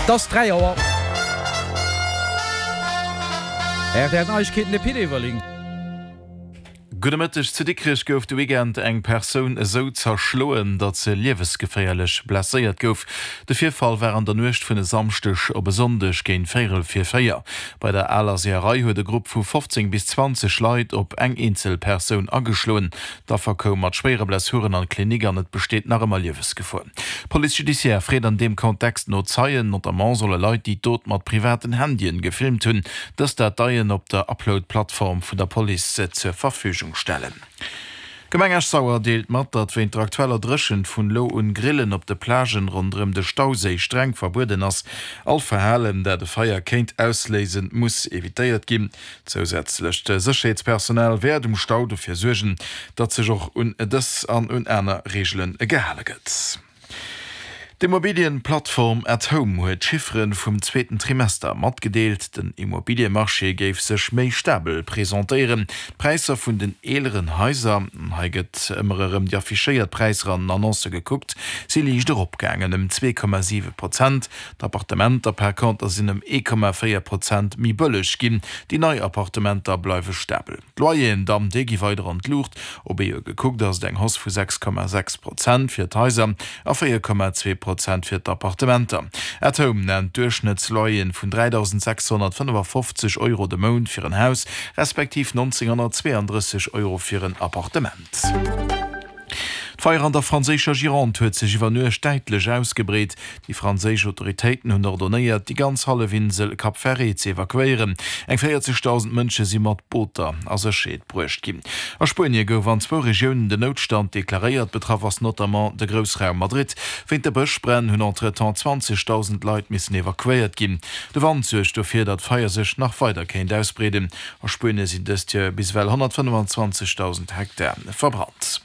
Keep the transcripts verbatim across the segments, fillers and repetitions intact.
Et ass dräi Auer. R T L Neiegkeeten, de Pit Everling. Gudde Mëtteg, Zu Dikrech gouf de Weekend eng Persoun esou zerschloen, datt se liewesgeféierlech blesséiert gouf. De Virfall war an der Nuecht vun e Samschdeg op e Sonndeg géint véierel vir véier. Bei der aler Seeërei huet e Grupp vu fofzéng bis zwanzeg Leit op eng eenzel Persoun ageschloen. D'Affer koum mat schwéiere Blessuren an d'Klinik an et besteet nach ëmmer Liewesgefor. D'Police judiciaire freet an deem Kontext no Zeien. Notamment solle Leit, déi d'Dot mat privaten Handyen gefilmt hunn, dës Dateien op der Upload-Plattform vun der Police zur Verfügung stellen. D'Gemeng Esch-Sauer deelt mat, datt wéint der aktueller Dréchent vun elo un Grillen op de Plagen ronderëm de Stauséi streng verbueden ass. All Verhalen, dat e Feier kéint ausléisen, muss evitéiert ginn. Zousätzlecht Sécherheetspersonal wäert um Stau dofir suergen, datt sech och un dës an un aner Reegele gehale gëtt. D'Immobilienplattform atHome huet d'Chiffere vum zweeten Trimester matgedeelt. Den Immobiliemarché géif sech méi stabel presentéieren. D'Präisser vun den eeleren Haiser, hei gëtt ëmmer erëm déi affichéiert Präisser an den Annoncë gekuckt, si liicht eropgaangen, ëm zwee Komma siwe Prozent. D'Appartementer par conter sinn ëm ee Komma véier Prozent méi bëlleg ginn. Déi nei Appartementer bleiwe stabel. D'Loyeren dann, déi gi weider an d'Luucht. Op ee Joer gekuckt ass et eng Hausse vu sechs Komma sechs Prozent fir d'Haiser a véier Komma zwee Prozent fir d'Appartementer. At Home nennt Duerchschnëttsloyeren vun dräidausend sechshonnertfënnefafofzeg Euro de Mount fir en Haus, respektiv nonzénghonnertzweeandrësseg Euro fir en Appartement. D'Feier an der franséischer Gironde huet sech iwwer Nuecht däitlech ausgebreet. Déi franséisch Autoritéiten hunn ordonéiert, déi ganz Hallefinsel Cap Ferret ze evakuéieren. Eng véierzegdausend Mënsche si mat Booter a Sécherheet bruecht ginn. A Spuenie gouf an zwou Regiounen den Noutstand deklaréiert. Betraff ass notamment de Groussraum Madrid. Wéint de Bëschbränn hunn entretemps zwanzegdausend Leit missen evakuéiert ginn. De Wand suergt dofir, datt d'Feier sech nach weider kéint ausbreeden. A Spuenie sinn dëst Joer bis ewell honnertfënnefenzwanzegdausend Hektar verbrannt.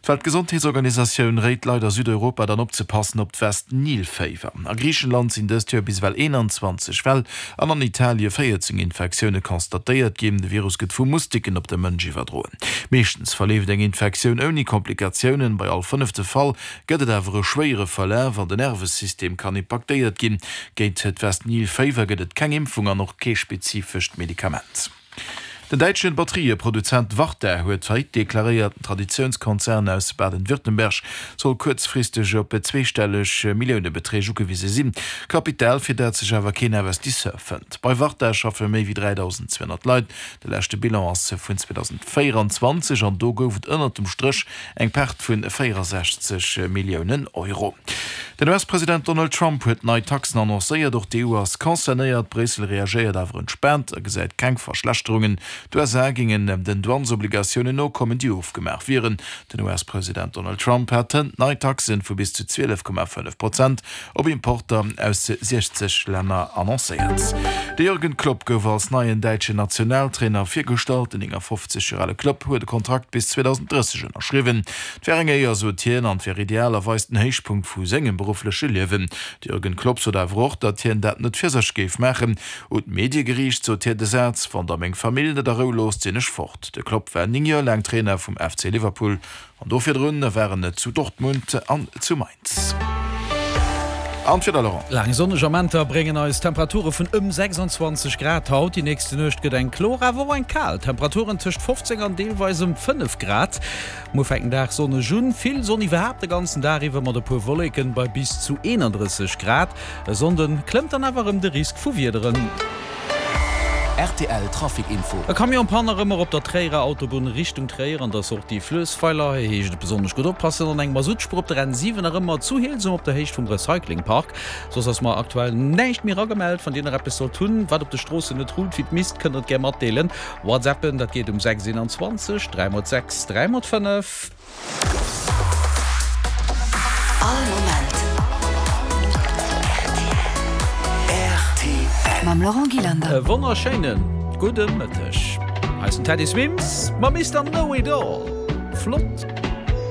D'Weltgesondheetsorganisatioun réit Leit a Südeuropa dann opzepassen op d'West-Nil-Féiwer. A Griichenland sinn dëst Joer bis ewell eenanzwanzeg Fäll an an Italie véierzéng Infektioune constatéiert ginn. De Virus gëtt vu Mustiken op de Mënsch iwwerdroen. Meeschtens verleeft eng Infektioun ouni Komplikatiounen, bei all fënnefte Fall gëtt et awer e schwéiere Verlaf an den Nervesystem kann impaktéiert ginn. Géint d'West-Nil-Féiwer gëtt et keng Impfung an och kee spezifescht Medikament. Den däitsche Batteriëproduzent Varta huet Faillite deklaréiert. Den Traditiounskonzern aus Baden-Württemberg soll kuerzfristeg op zweestelleg Milliounebeträg ugewise sinn. Kapital, fir dat sech awer keen Investisseur fënnt. Bei Varta schaffe méi wéi dräidausend zweehonnert Leit. De leschte Bilan ass vun zweedausendvéieranzwanzeg an do gouf et ënnert dem Stréch eng Perte vu véierasechzeg Milliounen Euro. Den U S-President Donald Trump huet nei Taxen annoncéiert. Och d'E U ass concernéiert. Bréissel reagéiert awer entspaant a gesäit keng Verschlechterungen. D'U S A géingen den Douanesobligatiounen nokommen, déi ofgemaach wieren. Den U S-President Donald Trump hat hënt nei Taxen vu bis zu zwielef Komma fënnef Prozent op Importer aus siechzeg Länner annoncéiert. De Jürgen Klopp gouf als neien däitschen Nationaltrainer virgestallt. Den néngafofzeg Joer ale Klopp huet e Kontrakt bis zweedausend drësseg ënnerschriwwen. Et wär eng Éier, sot hien, an et wär idealerweis den Héichpunkt vu sengem beruffleche Liewen. De Jürgen Klopp sot awer och, datt hien dat net fir sech géif maachen. Un d'Medie geriicht sot hien de Saz, Wann der meng Famill net a Rou loosst, sinn ech fort. De Klopp war néng Joer laang Trainer vum F C Liverpool an do virdrun war en zu Dortmund an zu Mainz. An d'Wieder, Laurent. Laang sonneg Amenter bréngen eis Temperature vun ëm sechsanzwanzeg Grad haut. Déi nächste Nuecht gëtt eng kloer, awer och eng kal. Temperaturen tëscht fofzéng an deelweis ëm fënnef Grad. Muer fänkt den Dag sonneg un, vill Sonn iwwerhaapt de ganzen Dag iwwer mat e puer Wolleken bei bis zu eenandrësseg Grad. E Sonnde klëmmt dann awer erëm de Risk vu Wiederen. R T L Trafic Info. E Camion Panne nach ëmmer op der Tréierer Autobunn Richtung Tréier an der Sortie Fluessweiler. Hei heescht et besonnesch gutt oppassen. An eng Masuttspuer op der N siwen nach ëmmer zu Helsem op der Héicht vum Recycling Park. Soss ass mer aktuell näischt méi eragemellt. Wann dir nach eppes sollt hunn, wat op de Stroossen net rullt wéi et misst, kënnt der et gär matdeelen. Whatsappen, dat geet um sechs eenanzwanzeg dräi mol sechs dräi mol fënnef. All Moment R T L. Mam Laurent Gillander. E wonnerschéine gudde Mëtteg. Hei ass den Teddy Swims mam Mister Know It All. Flott